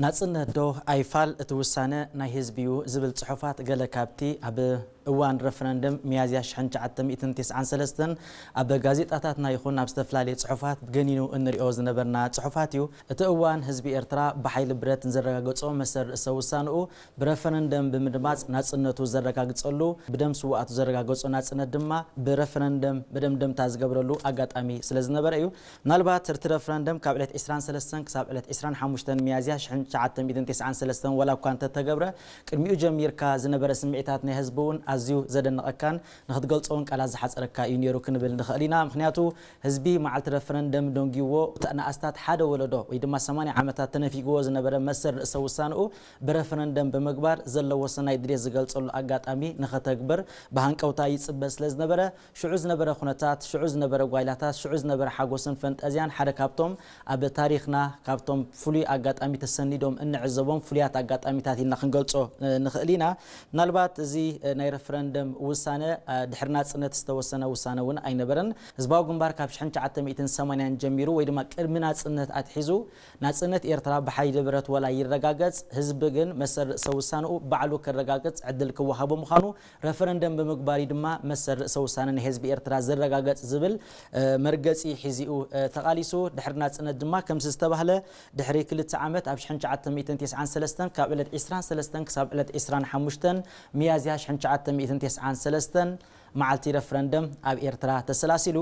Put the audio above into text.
ናጽነት ዶ ኣይፋል እቲ ውሳነ ናይ ህዝቢ እዩ ዝብል ጽሑፋት ገለ ካብቲ ኣብ እዋን ረፈረንደም ሚያዝያ ሽሕን ትሽዓተ ሚእትን ተስዓን ሰለስተን ኣብ ጋዜጣታትና ይኹን ኣብ ዝተፈላለየ ጽሑፋት ገኒኑ እንሪኦ ዝነበርና ጽሑፋት እዩ። እቲ እዋን ህዝቢ ኤርትራ ብሓይሊ ብረት ንዘረጋገጾ መሰል ርእሰ ውሳንኡ ብረፈረንደም ብምድማጽ ናጽነቱ ዘረጋግጸሉ፣ ብደም ስውኣቱ ዘረጋገጾ ናጽነት ድማ ብረፈረንደም መደምደምታ ዝገብረሉ ኣጋጣሚ ስለ ዝነበረ እዩ። ምናልባት እቲ ረፈረንደም ካብ ዕለት ዕስራን ሰለስተን ክሳብ ዕለት ዕስራን ሓሙሽተን ሚያዝያ ሽሕን ትሽዓተ ሚእትን ተስዓን ሰለስተን ዋላ እኳ እንተተገብረ፣ ቅድሚኡ ጀሚርካ ዝነበረ ስምዒታት ናይ ህዝቢ እውን ኣዝዩ ዘደንቐካን ንኽትገልጾ እውን ቃላት ዝሓጸረካ እዩ ነይሩ ክንብል ንኽእል ኢና። ምኽንያቱ ህዝቢ መዓልቲ ረፈረንደም ደንጊዎ፣ እቲ ንኣስታት ሓደ ወለዶ ወይ ድማ ሰማንያ ዓመታት ተነፊግዎ ዝነበረ መሰል ርእሰ ውሳንኡ ብረፈረንደም ብምግባር ዘለዎ ሰናይ ድሌት ዝገልጸሉ ኣጋጣሚ ንኸተግብር ብሃንቀውታ ይጽበ ስለ ዝነበረ፣ ሽዑ ዝነበረ ኩነታት፣ ሽዑ ዝነበረ ጓይላታት፣ ሽዑ ዝነበረ ሓጎስን ፈንጠዝያን ሓደ ካብቶም ኣብ ታሪኽና ካብቶም ፍሉይ ኣጋጣሚ ተሰኒዶም እንዕዘቦም ፍሉያት ኣጋጣሚታት ኢልና ክንገልጾ፣ እ፣ ንኽእል ኢና። ምናልባት እዚ፣ እ፣ ናይ ረፈረንደም ውሳነ፣ እ፣ ድሕሪ ናጽነት ዝተወሰነ ውሳነ እውን ኣይነበረን። ህዝባዊ ግንባር ካብ ሽሕን ትሽዓተ ሚእትን ሰማንያን ጀሚሩ ወይ ድማ ቅድሚ ናጽነት ኣትሒዙ ናጽነት ኤርትራ ብሓይሊ ብረት ወላ ይረጋገጽ፣ ህዝቢ ግን መሰል ርእሰ ውሳንኡ ባዕሉ ከረጋግጽ ዕድል ክወሃቦ ምዃኑ ረፈረንደም ብምግባር እዩ ድማ መሰል ርእሰ ውሳነ ናይ ህዝቢ ኤርትራ ዝረጋገጽ ዝብል፣ እ፣ መርገጺ ሒዚኡ፣ እ፣ ተቓሊሱ። ድሕሪ ናጽነት ድማ ከምዚ ዝተባህለ ድሕሪ ክልተ ዓመት ኣብ ሽሕን ትሽዓተ ሚእትን ተስዓን ሰለስተን ካብ ዕለት ዕስራን ሰለስተን ክሳብ ዕለት ዕስራን ሓሙሽተን ሚያዝያ ሽሕን ትሽዓተ ሚእትን ተስዓን ሰለስተን መዓልቲ ረፈረንደም ኣብ ኤርትራ ተሰላሲሉ።